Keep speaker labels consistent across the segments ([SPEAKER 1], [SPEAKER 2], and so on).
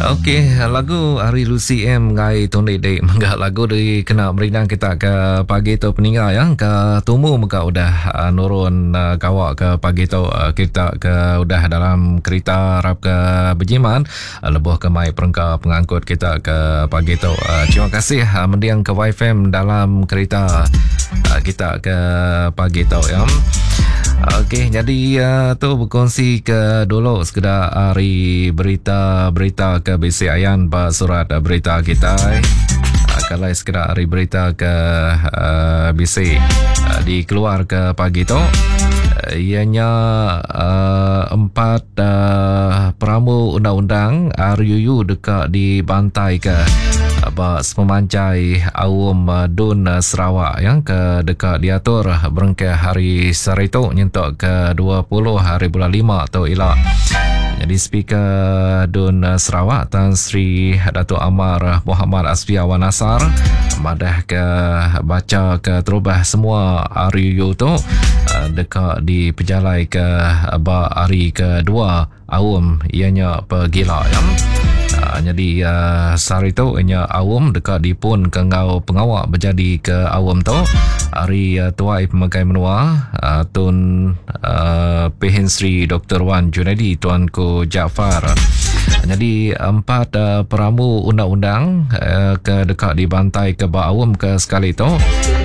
[SPEAKER 1] Okey, lagu ari Lucy M ngai tundi dik mega lagu di kena merindang kita ke pagi tu peninga ya ke tumu mega udah uh, nurun uh, gawa ke pagi tu uh, kita ke udah dalam kereta rap ke berjimat uh, lebuh ke mai perengka pengangkut kita ke pagi tu. Uh, terima kasih uh, mending ke YFM dalam kereta uh, kita ke pagi tu ya. Okey, jadi uh, tu berkongsi ke dulu sekeda hari berita-berita ke bisi ayan ba surat berita kita. Uh, kalau sekeda hari berita ke uh, bisi uh, dikeluar ke pagi tu uh, ianya uh, empat uh, perambu undang-undang RUU deka dibantai ke ba sepemanjai aum Dun Sarawak yang ke deka diatur berengkah hari sehari tu nyentuk ke 20 hari bulan 5 tu ila. Jadi Speaker Dun Sarawak Tan Sri Datuk Amar Muhammad Asfia Wan Nasar madah ke baca ke terubah semua RUU tu deka dipejalai ke ba hari kedua Aum iya nya pegila ya. Uh, jadi uh, sehari tu inya aum deka dipun ke enggau pengawa bejadi ke aum tu hari uh, tuai pemegai menua uh, Tun uh, Pehin Sri Dr. Wan Junaidi Tuanku Jaafar. Jadi empat uh, perambu undang-undang uh, ke deka dibantai ke ba aum ke sekali tu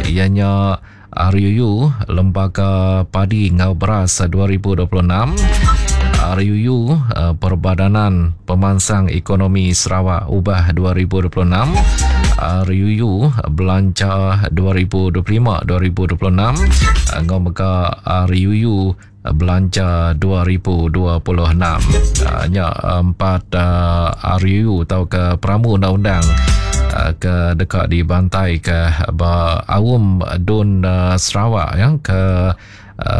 [SPEAKER 1] ianya RUU Lembaga Padi enggau Beras 2026, RUU Perbadanan Pemansang Ekonomi Sarawak Ubah 2026, RUU Belanja 2025-2026 enggau mega RUU Belanja 2026. Nya empat RUU tauka perambu undang-undang ke deka dibantaika ba aum Dun Sarawak ya ke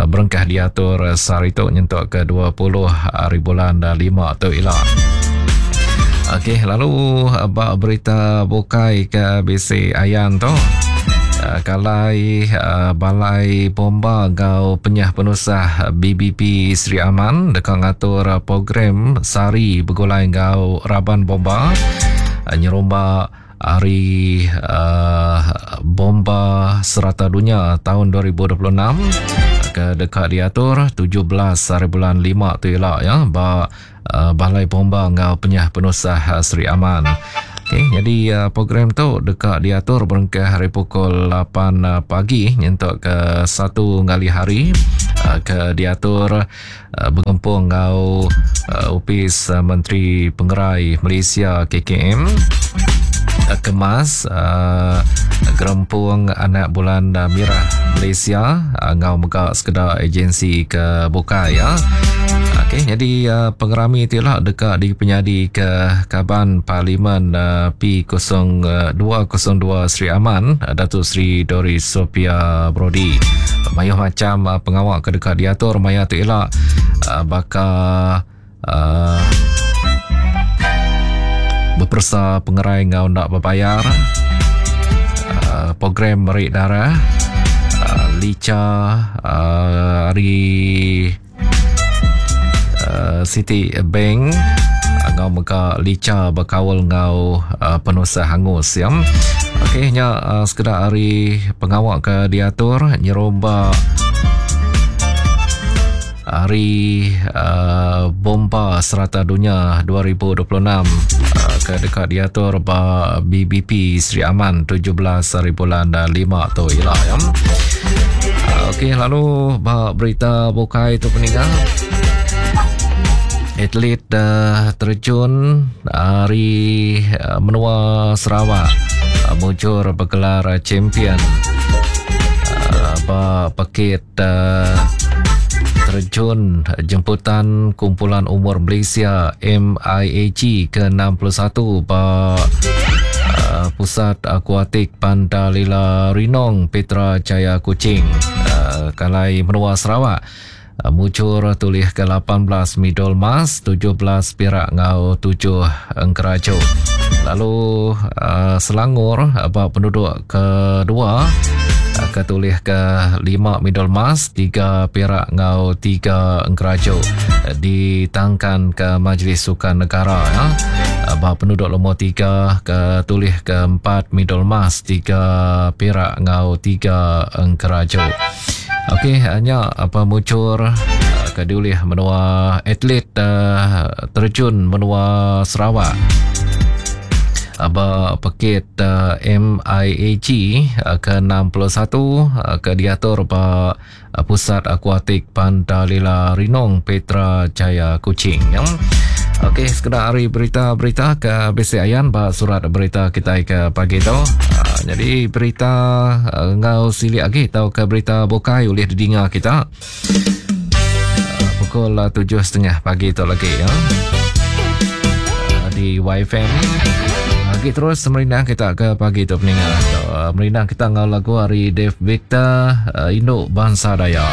[SPEAKER 1] berengkah diatur sehari tu nyentuk ke 20 hari bulan 5 tu ila. Okey, lalu ba berita bukai ke bisi ayan tu. Eh, kalai eh, Balai Bomba enggau Penyah Penusah BBP Sri Aman deka ngatur program sehari begulai enggau raban bomba eh, nyerumba Hari uh, Bomba Serata Dunya tahun 2026 ke deka diatur 17 hari bulan 5 tu ila ya ba uh, Balai Bomba enggau Penyah Penusah uh, Sri Aman. Okey, jadi uh, program tu deka diatur berengkah hari pukul 8 uh, pagi nyentuk ke 1 ngalih hari uh, ke diatur uh, begempung enggau uh, Opis uh, Menteri Pengerai Malaysia KKM uh, Kemas uh, Gerempung Anak Bulan Mirah Malaysia uh, enggau mega sekeda agensi ke bukai ya. Okey, jadi uh, pengerami tu lah deka dipenyadi ke Kaban Parlimen uh, P0202 Sri Aman, uh, Datuk Sri Doris Sophia Brody. Mayuh macam uh, pengawa ke deka diatur maya tu ila uh, baka uh, beperesa pengerai enggau enda bebayar, uh, program meri darah, uh, licha uh, ari uh, City Bank enggau mega licha bekaul enggau uh, penusah hangus ya. Okey nya uh, sekeda ari pengawa ke diatur nyerumba Hari uh, Bomba Serata Dunya 2026 uh, ke deka diatur ba BBP Sri Aman 17 hari bulan 5 tu ila ya. Uh, Okey lalu ba berita bukai tu peninggal atlet uh, terjun ari uh, menua Sarawak uh, mujur bergelar champion uh, ba pekit terjun jemputan Kumpulan Umur Malaysia MIAG ke-61 ba uh, Pusat Akuatik Pantalila Rinong Petra Jaya Kuching uh, Kalai Menua Sarawak uh, mujur tulih ke 18 medal emas, 17 perak enggau 7 engkeraju. Lalu uh, Selangor ba penduduk kedua. Ke tulih ke 5 medal emas, 3 perak enggau 3 engkeraju ditangkan ke Majlis Sukan Negara ya. Ba penuduk lumur 3 ke tulih ke 4 medal emas, 3 perak enggau 3 engkeraju. Okey, nya apa mucur ke diulih menua atlet uh, terjun menua Sarawak ba pekit uh, MIAG uh, ke-61 uh, ke diatur ba uh, Pusat Akuatik Pantalila Rinong Petra Jaya Kuching. Ya. Okey, sekeda hari berita-berita ke bisi ayan ba surat berita kita ke pagi tu. Uh, jadi berita uh, ngau silik lagi atau ke berita bukai ulih didinga kita. Uh, pukul 7.30 pagi tu lagi ya. Uh, di YFM. Lagi terus merindang kita ke pagi tu peninga. Uh, merindang kita ngau lagu hari Dave Victor uh, Induk Bangsa Dayak.